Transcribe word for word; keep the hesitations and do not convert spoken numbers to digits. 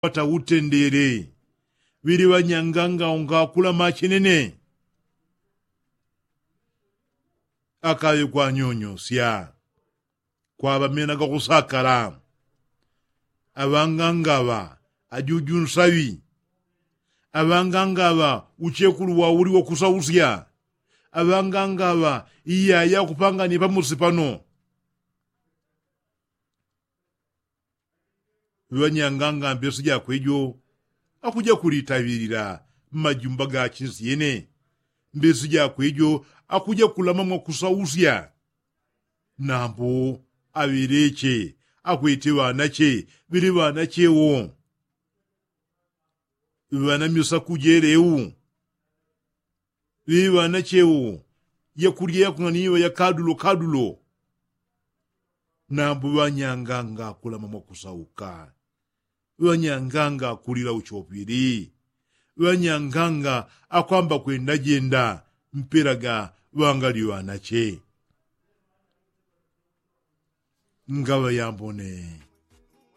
pata utendele. Ŵili ŵanyanganga ungakulama chenene. Akaŵe kwanyonyosya kwaŵamena gakusakala. Aŵangangaŵa ajuju nsaŵi. Aŵangangaŵa uchekulu wauli wakusausya. Aŵangangaŵa iyaya kupangania pamusi pano. Ŵanyanganga mbesi jakwe jo akuja kulitaŵilila mmajumba ga chinsi yene. Mbesi jakwe jo akuja kulama mwakusausya. Nambu aŵeleche akwete ŵanache. Ŵili ŵanache wo ŵanamisa kujeleu. Ŵiŵana cheu yakulya yakung'aniwa ya kadulo kadulo. Nambu ŵanyanganga akulama mwakusauka. Ŵanyanganga akulila uchopili. Ŵanyanganga akwamba kwenda jenda mpela ga ŵangali ŵanache. Ngaŵa yambone